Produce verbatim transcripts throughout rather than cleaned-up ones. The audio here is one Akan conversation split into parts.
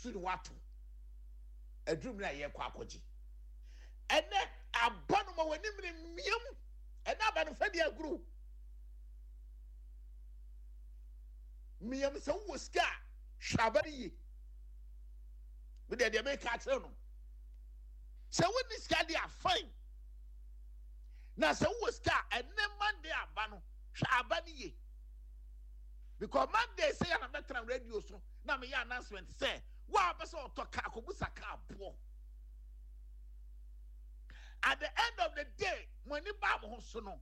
Nsu ne wato aduru mi na yɛkɔ akɔgye. Ɛnɛ aba no ma w'anim ne mmiam. Ɛnɛ aba no fɛ de aguru mmiam. Sɛ wowɔ sika a, hwɛ aba no yie. Medeɛ deɛ meka akyerɛ no, sɛ wonni sika deɛ a, fine, na sɛ wowɔ sika a, ɛnɛ Monday aba no, hwɛ aba no yie, because Monday sɛ yɛ na mɛtena radio so na meyɛ announcement sɛ wo a wopɛ sɛ ɔtɔ kaa, kɔbusa kaa boɔ. At the end of the day, mo ani baa mo ho so no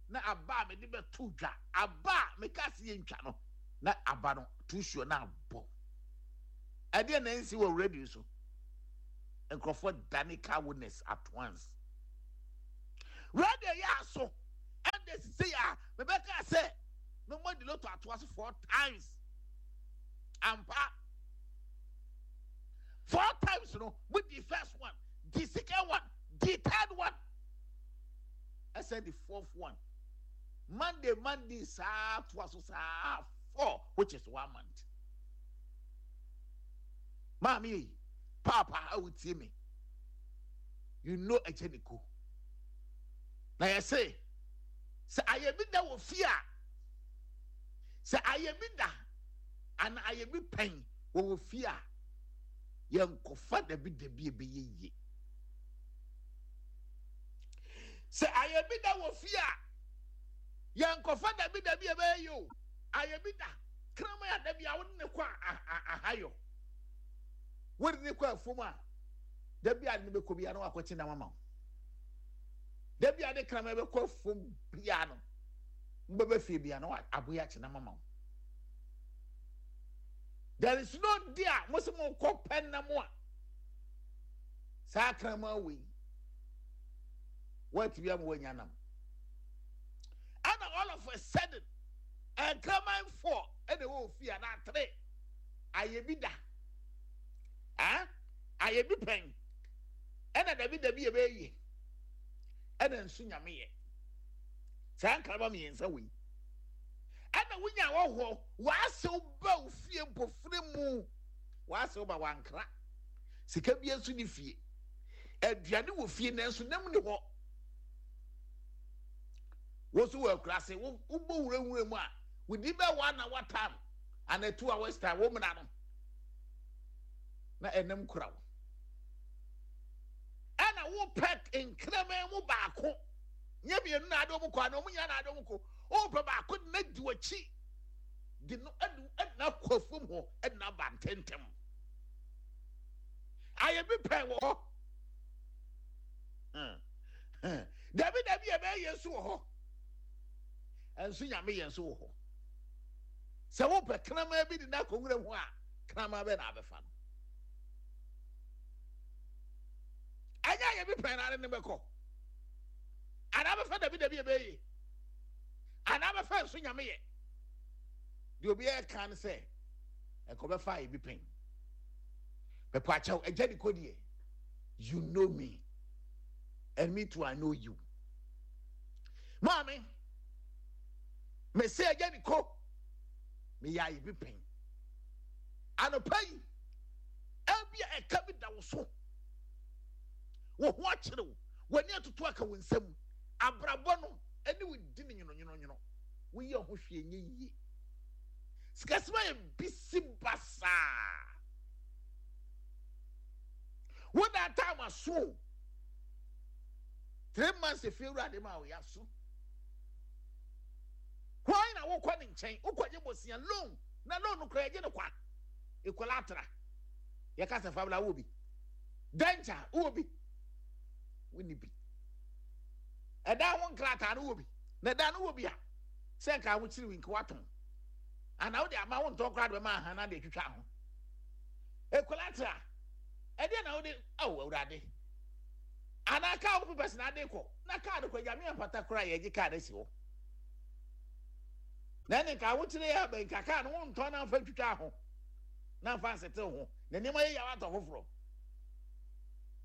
na aba a mede bɛto dwa, aba a meka se yɛntwa no, na aba no tusuo na abɔ. Ɛdeɛ na ɛnsi wɔ radio so, nkurɔfoɔ dane car witness at once. Radio yɛ aso ɛnde sisi a mebɛka sɛ memmɔ di lotto atoa so four times ampa. Four times no, mo di first one, di second one, di third one, ɛsɛ di fourth one. Monday Monday saa toa so saa four, which is one month. Maame yi, paapa a wotie me, you know ɛkyɛ ne ko na yɛse sɛ ayɛ bi da wɔ fie a, sɛ ayɛ bi da ana ayɛ bi pɛn wɔ wɔ fie a, yɛnkɔfa dabi dabi ebɛyɛ yie. Sɛ ayɛ bi da wɔ fie a, yɛnkɔfa dabi dabi ebɛyɛ yie o. Ayɛ bi da kraman a, dabi a wode ne kɔ ahayɔ, wode ne kɔ afom a, dabi a ne bɛkɔ bia na wakɔkye nam ama wo. Dabi a ne kraman bɛkɔ afom bia no, mbɛbɛ fie bia na aboa akye nam ama wo. There is no day a mo sɛ mo kɔ pɛ nam a, saa kraman wei wɔatumi ama wɔanya nam. Ɛna all of a sudden, nkraman four ɛna ɛwɔ ofie anaa three, ayɛ bi da, ah, ayɛ bi pɛn, ɛna dabi dabi yɛ bɛyɛ yie, ɛna nso Nyame yɛ saa nkraman mmiɛnsa wei, ɛna wonya wɔ hɔ, wɔasew ba ofie mpofiri mu, wɔasew ba, wankra sika bi nso ne fie, aduane wɔ fie nanso nam ne hɔ. Wọ́n nso wɔ akura wobɔ wurawura mu a, wòdi bɛ one hour time ana two hours time, wɔn mena no na ɛnam kura wo, ɛna wopɛ nkraman mu baako, nye mmienu na ade wɔn kɔ ana wɔn nyinaa na ade wɔn kɔ, wopɛ baako de na di w'akyi de no ɛde ɛde na akɔ fam hɔ, ɛde na aba ntɛntɛm. Ayɛ bi pɛn wɔ hɔ, dabi dabi yɛ bɛyɛ yɛn nso wɔ hɔ, ɛnso Nyame yɛn nso wɔ hɔ. Sɛ wopɛ kraman bi de na akɔ nwura mu a, kraman bɛ na abɛfa no, ɛnyɛ ayɛ bi pɛn na ade ne bɛkɔ anaa bɛfa dabi dabi yɛ bɛyɛ anaa bɛfa nso Nyame yɛ deɛ obiara ka no sɛ ɛkɔ bɛfa ayɛ bi pɛn. Bɛpɔ akyɛw ɛgya ne kɔ deɛ, you know me and me too I know you. Maame, mese agya ne ko, meyɛ ayɛ bi pɛn. Anɔpa yi, ebi a ɛka bi da wo so, wo ho akyerɛ wo, w'ani atoto aka wo nsam, abrabɔ no ɛne wo di ne nwononwononwono, woyɛ ho hwee nyɛ yie, sikasɛm ayɛ bisi basaa, woda time aso, three months efie wura de ma wo yaso hwan na wokɔ ne nkyɛn, wokɔgye bosia loan, na loan no kora yɛgye no kwa, collateral yɛka sɛ fabla wɔ bi, dɛnkyɛ wɔ bi, wonni bi, ɛdan ho nkrataa no wɔ bi, na ɛdan no wɔ bi a, sɛ nka ahokyere wi nka watɔn ana wode ama wo ntɔn koraa de bɛma aha na de atwitwa ho collateral ɛdeɛ na wode awo Awurade anaa kaa wo papers na ade kɔ na kaa no kɔ Nyame ampata koraa, yɛgye kaa no asi hɔ na ɛne nka ahokyere yɛ abɛn nka kaa no wontɔn na mfa ntwitwa ho na mfa nsetew ho na nneɛma yɛ yaw atɔ foforɔ.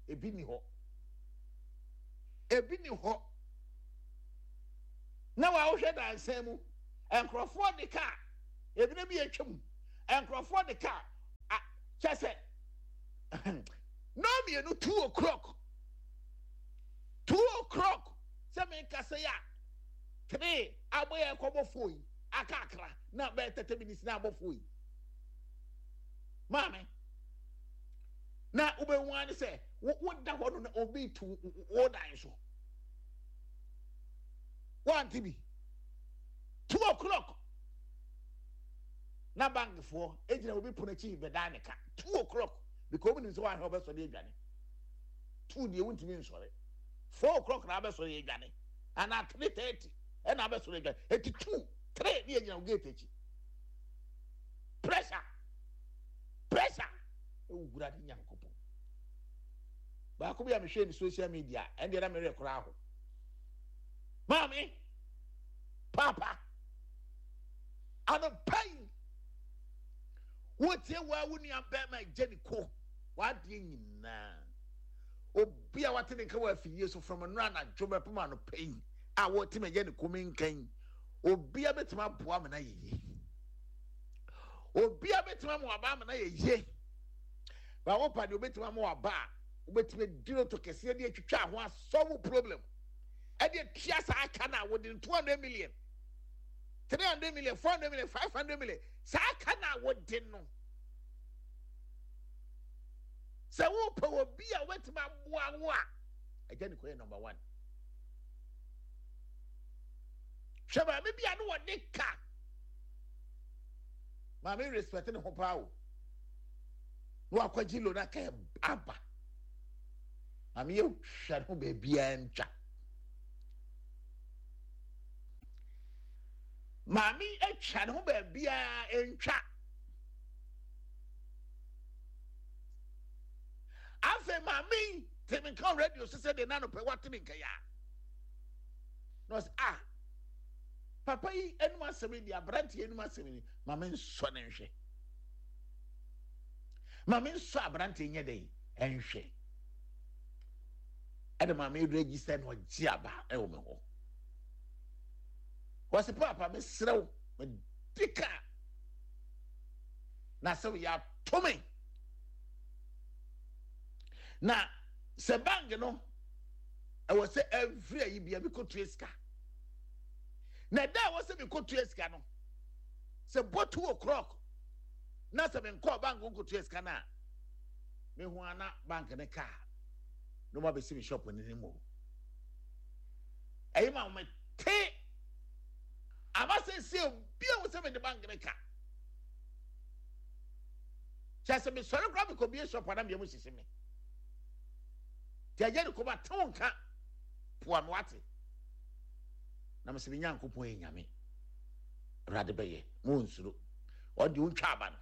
Ebi ni hɔ, ebi ni hɔ na wɔawohwɛ dansan mu, nkurɔfoɔ de kaa ebi na bi atwa mu, nkurɔfoɔ de kaa Kyɛ sɛ na mmienu, two o'clock, two o'clock sɛ menkasa yi a, three abɔ yɛ kɔbɔ four yi aka akra na bɛyɛ thirty minutes na abɔ four yi. Maame, na wobɛhu ane sɛ woda hɔ no na obi tu wo dan so wante bi. Two o'clock na bankfoɔ egyina obi pono akyi bɛdan ne ka two o'clock, because obi nim sɛ wahwɛ ɔbɛsɔre adwane. Two deɛ, wontumi nsɔre. Four o'clock na abɛsɔre adwane ana three thirty ɛna abɛsɔre adwane. Eti two, three ne yɛgyina gate akyi. Pressure, pressure ewura ne Nyankopɔn. Baako bi a mehwɛ ne social media, ɛndeɛ na mmerɛ koraa ho. Maame, papa, anɔpa yi wotie waa wo nua bɛrima gye ne ko wadeɛ nyinaa. Obi a wate ne nka wɔ afidie so from nnora anadwo bɛpem anɔpa yi a wɔte me gye ne ko me nkan, obi a bɛtumi aboa me na yɛ yie, obi a bɛtumi ama waba ama na yɛ yie. Ba wo pa deɛ, obɛtumi ama waba a wobɛtumi adi loto kɛseɛ de atwitwa ho asɔwo problem ɛde atua saa aka no a wɔde no two hundred million, three hundred million, four hundred million, five hundred million, saa aka no a wɔde no. Sɛ wopɛ obi a wobɛtumi aboa wo a, agya ne kɔyɛ number one. Hwɛ, maame bi a ne wɔde ka, maame respect ne ho paa o, na wakɔgye loan aka aba. Maame yɛ hwɛ ne ho baabiara ntwa. Maame atwa ne ho baabiara ntwa. Afei maame yi te me nka radio so sɛ de nanopɛ wate me nka ya na ɔsɛ, "Ah, papa yi anim asɛm yi deɛ, aberanteɛ anim asɛm yi, maame nsɔ ne nhwɛ, maame nsɔ aberanteɛ nyɛ dɛ ɛnhwɛ." Ɛde maame register na ɔgye aba ɛwɔ me hɔ. Wɔsi, "Papa, mesrɛ wo, medi ka na sɛ woyɛ ato me na sɛ bank no ɛwɔ sɛ every ayi bia mekɔtua sika na ɛda a ɛwɔ sɛ mekɔtua sika no, sɛ bɔ two o'clock na sɛ menkɔɔ bank nkɔtua sika no a, mehu ana bank ne kaa na ɔma bɛsi me shop no anim o. Ɛyi ma mete ama sɛ sɛ obi a wɔ sɛ mede bank ne ka kyɛ sɛ mesɔre koraa mekɔbie shop ana meɛ mu hyehye me. Nti agya ne kɔma tew nka poa me wate na mesɛ me Nyankopɔn yɛ Nyame, Awurade bɛyɛ ma ɔnsuro. Ɔde wontwa aba no,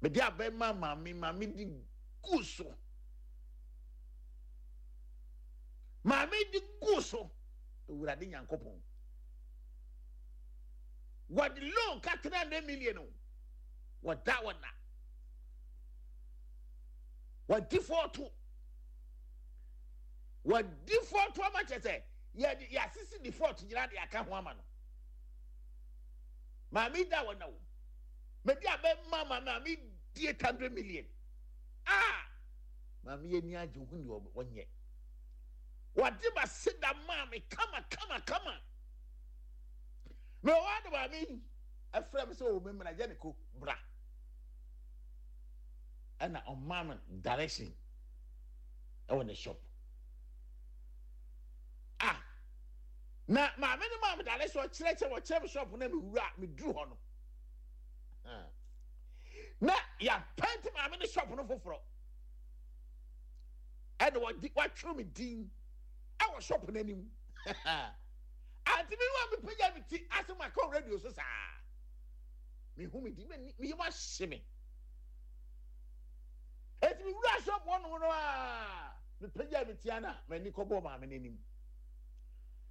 mede aba ma maame. Maame di gu so, maame di gu so. Awurade Nyankopɔn, wɔde loan ka three hundred million o, wɔda wɔna wɔdi fɔɔto, wɔdi fɔɔto ama kyerɛ sɛ yɛde yɛasisi default nyinaa de aka ho ama no. Maame da wɔna o, mede abɛma ma maame di eight hundred million a maame yɛ ni agye ho ni. Ɔnyɛ wɔde ma seda maame kama kama kama. Mɛ wɔn adi maame yi ɛfrɛ mi sɛ o, mi mìíràn gye ne ko bra, ɛna ɔmaa mi direction ɛwɔ ne shop. Ah, na maame ne maame direction, ɔkyerɛkyerɛ, ɔkyerɛ mi shop na mi wura mi duru hɔ no na yɛapɛnti maame ne shop no foforɔ, ɛna wɔde watwerɛ mi din ɛwɔ shop n'anim. Ante mi wa mi pagya mi ti asɛm aka radio so saa, mi hu mi di mi mi yɛ ma hye mi. Eti mi wura shop hɔ nom no a, mi pagya mi ti ana m'ani kɔbɔ maame n'anim.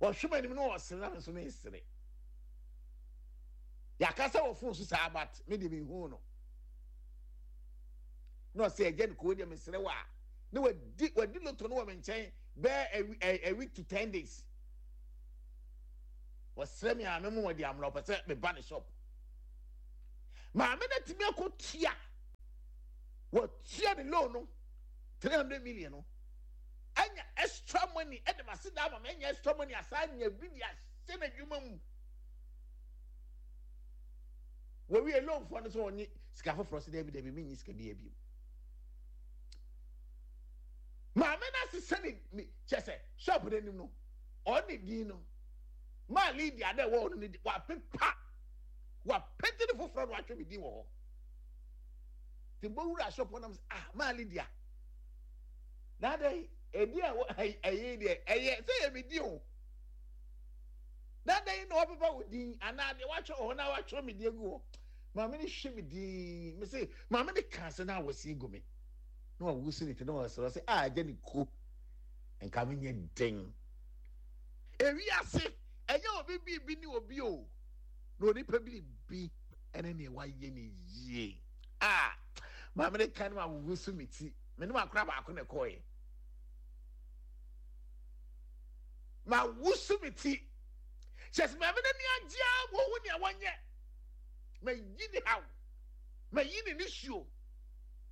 Wɔhwɛ m'anim no, wɔsere na mi nso mi nsere. Yàkasa wɔ phone so saa, but mi de mi hu no na ɔsɛ ɛgya ne koo deɛ, mi sere wa na wadi wadi loto no wɔ mi nkyɛn bɛɛ a a week to ten days. Wɔsrɛ mi a, mi mu wɔde amuna ɔpɛ sɛ mi ba ne shop. Maame no tumi akɔ tua Watua ne loan no three hundred million no anya extra money ɛde ma se da ama ma anya extra money asa anya bi de ahyɛ n'adwuma mu. Wɔwie loan foɔ no sɛ ɔnye sika foforɔ sɛ dɛbi dɛbi menyi sika bi abiem. Maame no asesa ne ne kyɛ sɛ shop no anim no ɔne din no maa Lydia dɛ ɛwɔ hɔ no ne di wapepa wapɛnti ne foforɔ no watwe me din wɔ hɔ. Nti mbɔwura shop hɔ nam sɛ ah maa Lydia na adɛn ɛdi a ɛyɛ deɛ ɛyɛ sɛ yɛ me din o na adɛn na wapepa wo din anaa deɛ watwerɛ wɔ hɔ na watwerɛ me din agu hɔ. Maame no hwɛ me din me se maame no kaa sɛ na awɔsi gu me na wawusu ne ti na wɔsrɛ sɛ a agya ne ko nka menyɛ den. Ewiase ɛnyɛ obi biribi ne obi o na onipa biribi ɛne nea wayɛ ne yie. A maame no ka no ma wusu me ti me ne makora baako na ɛkɔɔɛ ma wusu me ti kyɛ sɛ maame no ani agye a wɔhu nea wɔnyɛ. Ma yi ne haw, ma yi ne nisuo,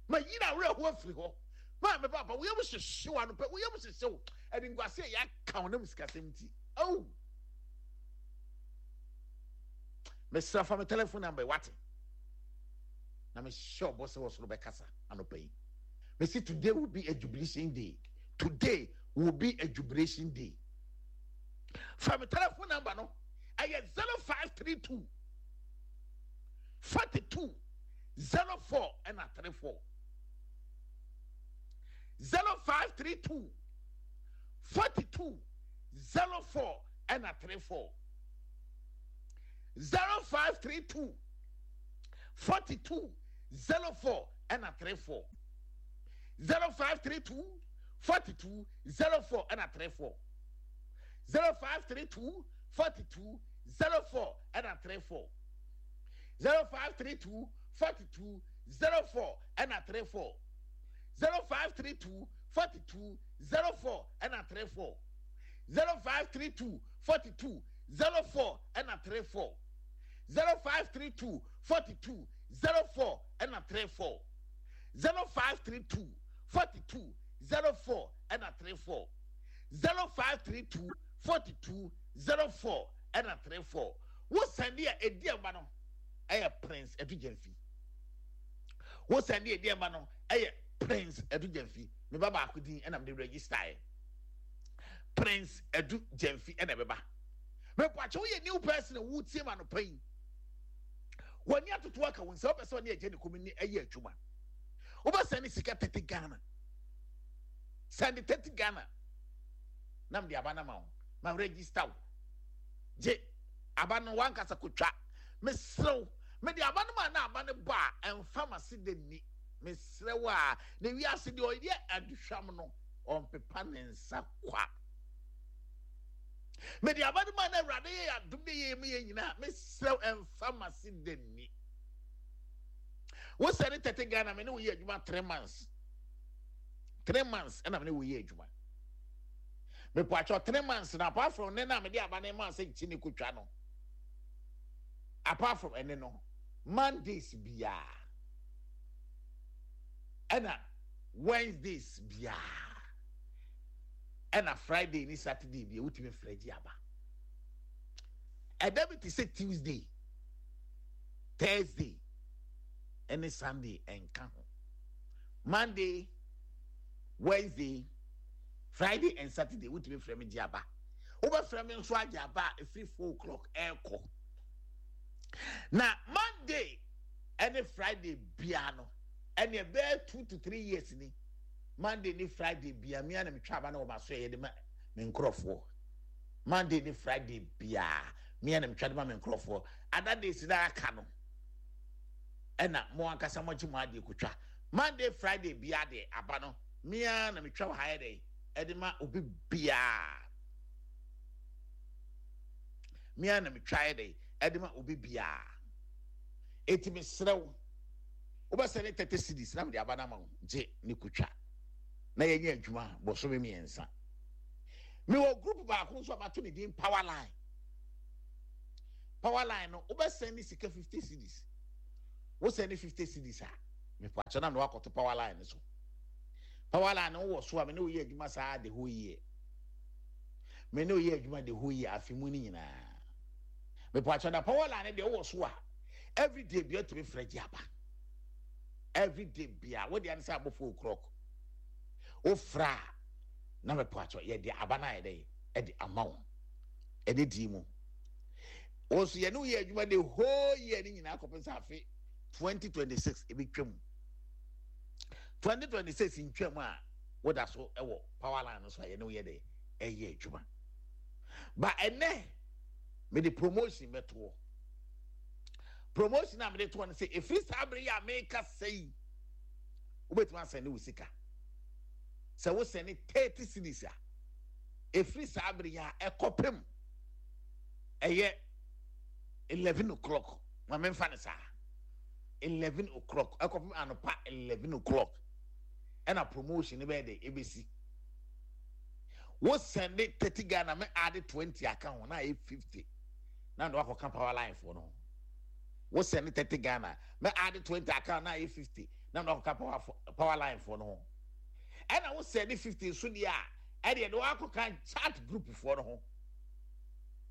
ma yi ne awerɛhoɔ afiri hɔ. Maame papa wo yam hyehye wo anɔpɛ, wo yam hyehye wo animguase a yɛaka wo nam sikasɛm nti. Oh, mesrɛ fa me telephone number wate na mehyɛ ɔbɔ sɛ wɔ soro bɛkasa anɔpɛ yi. Mesi today will be a jubilation day. Today will be a jubilation day. Fa me telephone number no ɛyɛ zero five three two forty two zero four ɛna three four zero five three two forty two zero four ɛna three four zero five three two forty two zero four ɛna three four zero five three two forty two zero four ɛna three four zero five three two forty two zero four ɛna three four zero five three two forty two zero four ɛna three four zero five three two forty two zero four ɛna three four zero five three two forty two zero four ɛna three four zero five three two forty two zero four ɛna three four zero five three two forty two zero four ɛna three four zero five three two forty two zero four ɛna three four. Wo sɛnde a edi ɛma no ɛyɛ Prince Adu Gyamfi. Wo sɛnde a edi ɛma no ɛyɛ Prince Adu Gyamfi. Me ba baako din ɛna mede register yɛ. Prince Adu Gyamfi ɛna ɛbɛba. Mepɔkyɛ woyɛ new person a wotie ma no pɛn. Wɔne atoto aka wo nsa wopɛ sɛ ɔne agya ne kɔmi ne ɛyɛ adwuma. Wobɛsɛn ne sika thirty Ghana. Sɛnde thirty Ghana. Na mede aba no ma wo. Ma register wo. Gye aba no wankasa kotwa. Mesrɛ wo, mede aba no ma na aba no bɔ a ɛmfa ma se de ni. Mesrɛ wo a na wiase deɛ ɔyɛ aduhwam no ɔmpepa ne nsa kwa. Mede aba no ma na Awurade yɛ adom de yɛ mu yɛ nyinaa. Mesrɛ wo ɛmfa ma se de ni. Wo sɛ ne thirty Ghana me ne wo yɛ adwuma three months. Three months ɛna me ne wo yɛ adwuma. Mepɔ atwɔ three months na apart from ne na mede aba ne ma sɛ nkyi ne kotwa no. Apart from ɛne no, Mondays biara ɛna Wednesdays biara ɛna Friday ne Saturday biara wotumi frɛ gye aba. Ɛda bi te sɛ Tuesday, Thursday ɛne Sunday ɛnka ho. Monday, Wednesday, Friday and Saturday wotumi frɛ me gye aba. Wobɛfrɛ me nso agye aba a ɛfiri four o'clock ɛrekɔ. Na Monday ɛne Friday biara no ɛne ɛbɛyɛ two to three years ni. Monday ne Friday biara mmea na metwa aba na wɔn aso yɛ de ma me nkorɔfoɔ. Monday ne Friday biara mmea na metwa de ma me nkorɔfoɔ. Other days na aka no ɛna mo ankasa mo agye mo adeɛ kotwa. Monday Friday biara deɛ aba no mmea na metwa wɔ ha yɛ dɛ ɛde ma obi biara. Mmea na metwa yɛ dɛ ɛde ma obi biara. Eti mesrɛ wo, wobɛsɛ ne thirty cedis na mede aba no ama wo gye ne kotwa na yɛnyɛ adwuma bɔsome mmiɛnsa. Mewɔ group baako nso a mato ne din Power Line. Power Line no wobɛsɛn ne sika fifty cedis. Wosɛn ne fifty cedis a mepɔ akyɛ na mede wakɔto Power Line no so. Power line wɔ so a, me ne woyɛ adwuma saa the whole year. Me ne woyɛ adwuma the whole year, afe mu no nyinaa. Mepatwɛ, na power line deɛ, wɔ so a, every day bia tumi frɛ gye aba. Every day bia wode ane sɛ abɔ four o'clock, wofrɛ a, na mepatwɛ, yɛde aba no ayɛ dɛ ɛde ama wo. Ɛne dii mu wɔn nso, yɛne woyɛ adwuma the whole year ne nyinaa kɔpem sɛ afe twenty twenty-six ebi twam. twenty twenty-six ntwam a, woda so ɛwɔ power line no so a, yɛne woyɛ dɛ ɛyɛ adwuma. Ba ɛnɛ mede promotion bɛtoɔ. Promotion a mede toɔ no sɛ, ɛfiri saa bere yi a meka sɛ yi, wobɛtumi asɛne wo sika. Sɛ wosɛne thirty cedis a, ɛfiri saa bere yi a ɛkɔpem ɛyɛ eleven o'clock, ma memfa no saa, eleven o'clock ɛkɔpem anɔpa eleven o'clock, ɛna promotion no bɛyɛ de ɛbɛsi. Wosɛnde thirty Ghana, me ade twenty aka ho na ayɛ fifty, na de wakɔka power line foɔ no ho. Wosɛnde thirty Ghana, me ade twenty aka ho na ayɛ fifty, na de wakɔka power power line foɔ no ho. Ɛna wosɛnde fifty nso deɛ a, ɛdeɛ de wakɔka chat group foɔ no ho.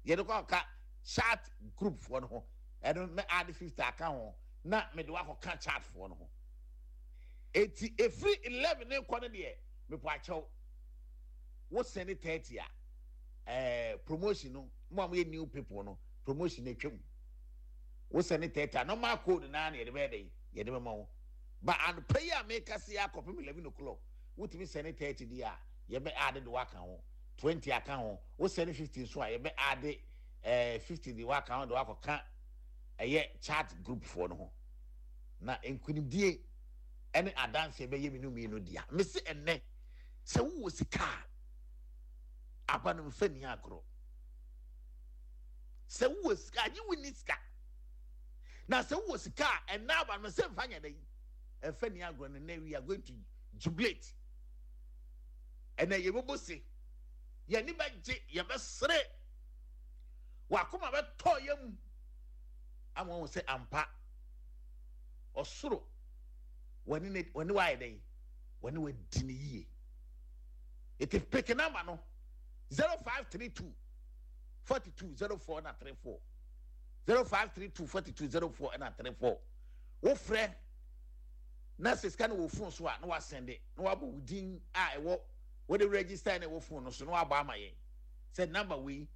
Yɛde kɔka chat group foɔ no ho. Ɛno me ade fifty aka ho na mede wakɔka chat foɔ no ho. Eti efiri eleven ne kɔ no deɛ, mepɔ akyɛw, wosɛne thirty a, ɛɛ promotion no, mo a moyɛ new people no, promotion no atwam. Wosɛne thirty a, normal code naa na yɛde bɛyɛ dɛ yɛde bɛma wo. Ba anɔpa yi a meka se akɔpem eleven o'clock, wotumi sɛne thirty deɛ a, yɛbɛ ade de waka ho twenty aka ho. Wosɛne fifty nso a, yɛbɛ ade ɛɛ fifty de waka ho de wakɔka ɛyɛ chat group foɔ no ho. Na nkunimdie ɛne adanseɛ bɛyɛ mmienu mmienu dea. Mesi ɛnɛ sɛ wowɔ sika a, aba no mfa ni agorɔ. Sɛ wowɔ sika, agye wo ni sika, na sɛ wowɔ sika a, ɛnɛ aba no sɛ mfa nyɛ dɛ ɛmfa ni agorɔ no. Nɛ we are going to jubilate. Ɛnɛ yɛbɛbɔ se, yɛni bɛgye, yɛbɛsere, wakoma bɛtɔ yɛ mu ama wɔn sɛ ampa ɔsoro wɔne ne wɔne wayɛ dɛ wɔne wadi ne yie. Eti pick number no, zero five three two forty two zero four na three four, zero five three two forty two zero four na three four. Wofrɛ na sɛ sika no wɔ phone so a, na wasɛnde na wabɔ wo din a ɛwɔ wɔde register na ɛwɔ phone no so, na wabɔ ama yɛn sɛ number wei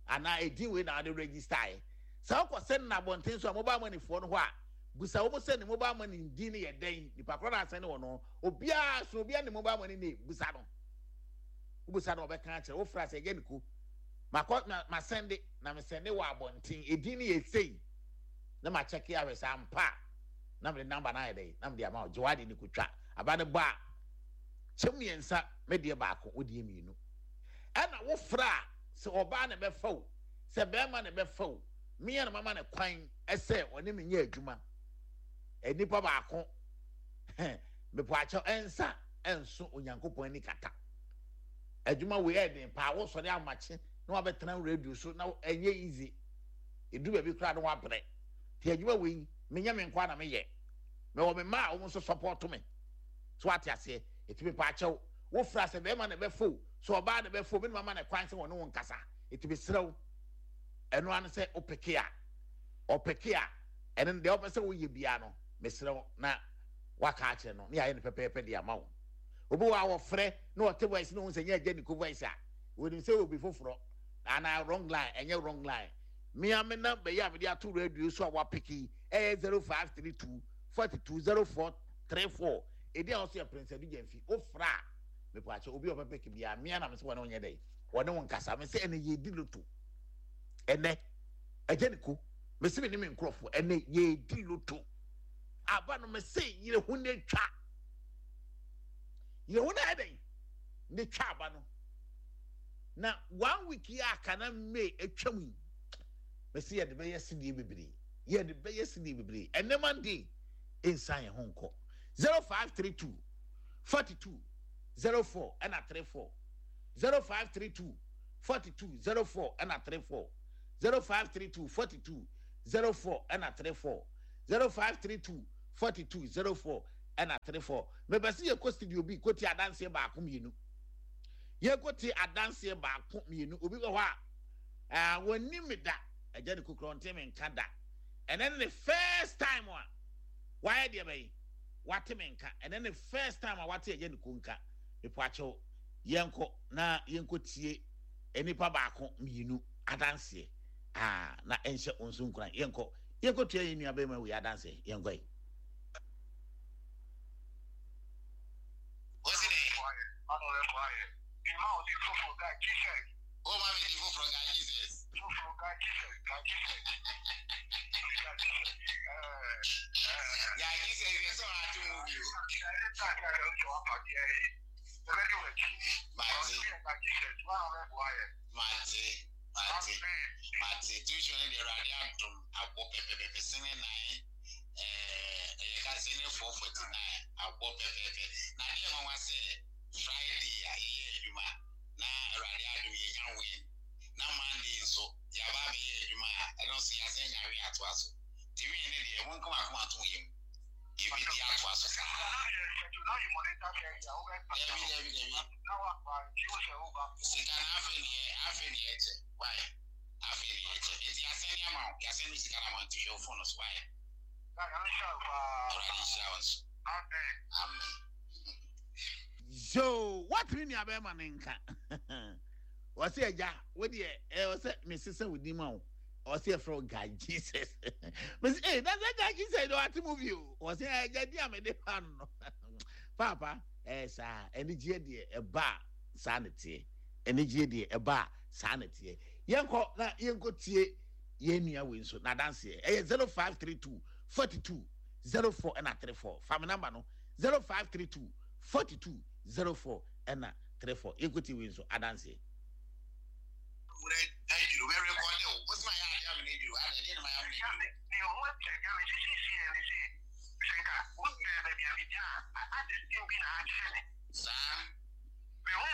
anaa edin wei na wɔde register yɛ. Sɛ wokɔ sɛn na abɔnten so a, mobile money foɔ no hɔ a, busa wɔn sɛ ne mobile money din no yɛ dɛn. Nipa korɔ na asɛn wɔ no, obiara so, obiara ne mobile money name. Busa no, wobusa no, ɔbɛka akyerɛ. Wofra sɛ ɛgya ne ko makɔ ma ma sɛnde na me sɛnde wɔ abɔnten, edin no yɛ sei, na ma kyɛke ahwɛ sɛ ampa, na mede number no ayɛ dɛn na mede ama wo. Gye wade ne kotwa aba ne ba a, kyɛm mmiɛnsa, me deɛ baako, wo deɛ mmienu. Ɛna wofra a, sɛ ɔbaa na ɛbɛfa wo, sɛ bɛrima na ɛbɛfa wo, mmea na mama ne kwan ɛsɛ ɔne me nyɛ adwuma. Nipa baako, mepɔ akyɛw, ɛnsa ɛnso Onyankopɔn ani kata. Adwuma wei ɛden paa. Wosɔre amakye na wabɛtena radio so na ɛnyɛ easy. Edu baabi koraa na wabrɛ. Te adwuma wei, menyɛ me nkwa na meyɛ, mewɔ me mma a wɔn nso support me so, ate aseɛ? Eti mepɔ akyɛw, wofra sɛ bɛrima na ɛbɛfo, sɛ ɔbaa na ɛbɛfo, me na mama ne kwan sɛ wɔne wɔn nkasa. Eti mesrɛw, ɛno ano sɛ wopeke a, ɔpeke a, ɛno deɛ ɔpɛ sɛ woyɛ biara no, mesrɛw, na waka akyerɛ no ne yɛayɛ no pɛpɛɛpɛ de ama wo. Obi wɔ a wɔfrɛ na ɔte voice na ohun sɛ nyɛ agya ne ko voice a, wɔnim sɛ obi foforɔ anaa wrong line. Ɛnyɛ wrong line. Mmea me number yi a mede ato radio so a wapeke yi, ɛyɛ zero five three two forty two zero four three four. Edi a ɔso yɛ Prince Adu Gyamfi. Wofra a, mepɔ akyɛ, obi a ɔbɛpeke biara, mmea na me sɛ wɔne wo nyɛ dɛ wɔne wo nkasa. Me sɛ ɛnɛ yɛdi lotto. Ɛnɛ agya ne ko, me sɛ me ne me nkurɔfoɔ, ɛnɛ yɛdi lotto aba no. Me sɛ yere ho ne twa, yere ho na ayɛ dɛn ne twa aba no. Na one week yi aka na May atwam yi, me sɛ yɛde bɛyɛ sidie bebree, yɛde bɛyɛ sidie bebree. Ɛnɛ Monday nsan yɛn ho nkɔ. Zero five three two forty two zero four ɛna three four, zero five three two forty two zero four ɛna three four, zero five three two forty two zero four ɛna three four, zero five three two forty two zero four ɛna three four. Mepɛ sɛ yɛkɔ studio bi kɔtie adanseɛ baako mmienu. Yɛkɔtie adanseɛ baako mmienu. Obi wɔ hɔ a ɛɛ wɔnnim me da. Agya ne kukura ɔnte me nka da. Ɛnɛ ne first time a wayɛ deɛ bɛyi wate me nka. Ɛnɛ ne first time a wate agya ne ku nka. Mepo akyɛw, yɛnkɔ na yɛnkɔ tie nipa baako mmienu adanseɛ aa na ɛnhyɛ wɔn nso nkuran. Yɛnkɔ yɛnkɔ tua yɛn nua bɛrima wei adanseɛ. Yɛnkɔ yi. Wɔsi dɛ. O ma mi di foforɔ ga Jesus. Ga Jesus yɛ sɛ ɔha ti mu bi o. Mate. Mate. Mate. Mate. Tuition ne deɛ Awurade adom abɔ pɛpɛpɛpɛ sene nine ɛɛ ɛyɛ ka sene four forty nine abɔ pɛpɛpɛ. Na adeɛ nwanwa sɛ Friday a yɛyɛ adwuma na Awurade adom yɛnya win, na Monday nso yɛaba abɛyɛ adwuma a ɛno nso yɛasan nya win atoa so. Nti win ne deɛ monka mo akoma nto mo yam, yɛbɛdi atoa so saa. Dabi dabi dabi. Sika no afei ne yɛ afei ne yɛkyɛ why afei ne yɛkyɛ nti yɛasɛn ne ama wo, yɛasɛn ne sika no ama wo, nti hwɛ wo phone no so why. Awurade nhyira wo nso. Amen. Yoo, woatene nua bɛrima ne nka. Ɔsɛ agya, wo deɛ ɛwɔ sɛ mesesa wo din ma wo. Ɔsɛ yɛfrɛ wo Guy Jesus. Mese, ee, na sɛ Guy Jesus de wate movie o. Ɔsɛ agya di a mede pa no no. Paapa, ɛyɛ saa, anigyeɛ deɛ ɛba a saa ne teɛ. Anigyeɛ deɛ ɛba a saa ne teɛ. Yɛnkɔ na yɛnkɔ tie yɛn nua wei nso n'adanseɛ. Ɛyɛ zero five three two forty two zero four ɛna three four. Fa me namba no zero five three two forty two zero four ɛna three four. Yɛnkɔ tie wei nso adanseɛ. Saa. Adɛn?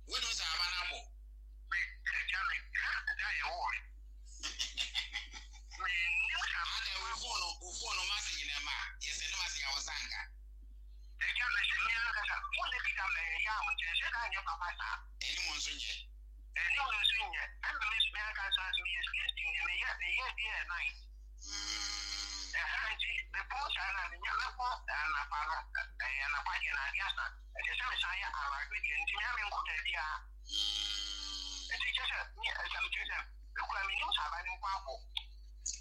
Wonim sɛ aba no abɔ? Adɛn, wo phone no, wo phone no message na ɛma a, yɛsɛnde message a wo nsa nka? Anim nso nyɛ. Mm. Mm.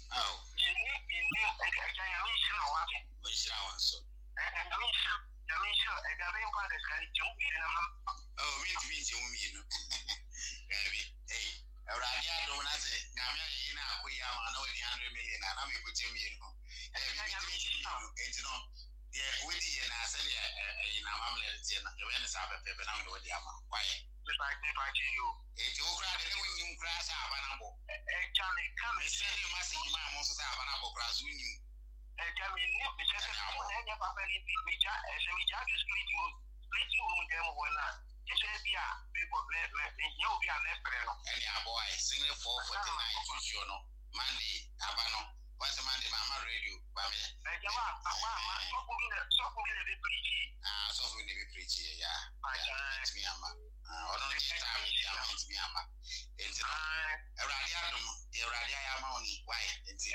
Aw. Ɔnhyira wo nso. Oh, mentumi nkyɛ mu mmienu. Daabi. Ei, Awurade adom na sɛ Nyame ayɛ yi na akɔ yi ama na wadi hundred million a, na mekɔkyɛ mmienu. Daabi, mentumi nkyɛ mmienu. Enti no, deɛ wodi yɛ na sɛdeɛ ɛyi na amammerɛ no teɛ no, yɛbɛyɛ no saa pɛpɛɛpɛ na mede wode ama. Wayɛ. Enti wo koraa de ne wonnim koraa sɛ aba no abɔ. Mesɛnde message maa mo nso sɛ aba no abɔ koraa so wonnim. Ɛne abɔ. Ɛne abɔ ayɛ single four forty nine tusuo no Monday aba no wɔn sɛ Monday maa ma radio ba me. Ah, sɔfo bi na ebi preach yɛ ya ya ntumi ama. Ɔno no gye time nti ama ntumi ama. Enti no Awurade adom deɛ Awurade ayɛ ama wo ni why nti.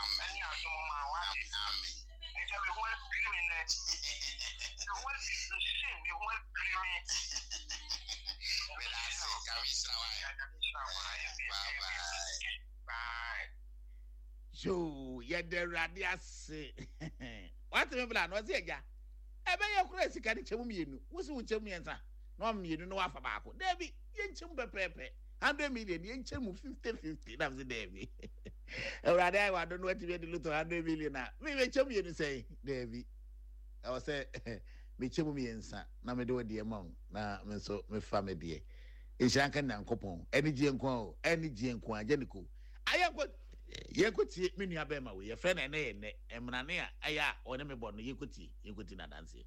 Amen. Amen. Meda ase, Nyame nhyira wo ayɛ. Bye bye. Yoo, yɛda Awurade ase. Wate me bla no, ɔse agya, ɛbɛyɛ koraa sika no kyɛ mu mmienu, wo se wo nkyɛ mu mmiɛnsa, na wama mmienu na wafa baako. Daabi, yɛnkyɛ mu pɛpɛɛpɛ. Hundred million, yɛnkyɛ mu fifty fifty. Na mese daabi. Awurade ayɛ wado no watumi adi lotto hundred million a, me mekyɛ mu mmienu sɛn? Daabi. Ɛwɔ sɛ mekyɛ mu mmiɛnsa na mede wo deɛ ma wo na me nso mefa me deɛ. Nhyira nka Nyankopɔn. Anigyeɛ nko ara o, anigyeɛ nko ara. Gya ne ko. Ayɛ nkɔ. Yɛnkɔtie me nua bɛrima wei, yɛfrɛ no ɛnɛ yɛ nnɛ mmerane a ɛyɛ a ɔne me bɔ no. Yɛnkɔtie, yɛnkɔtie n'adanseɛ.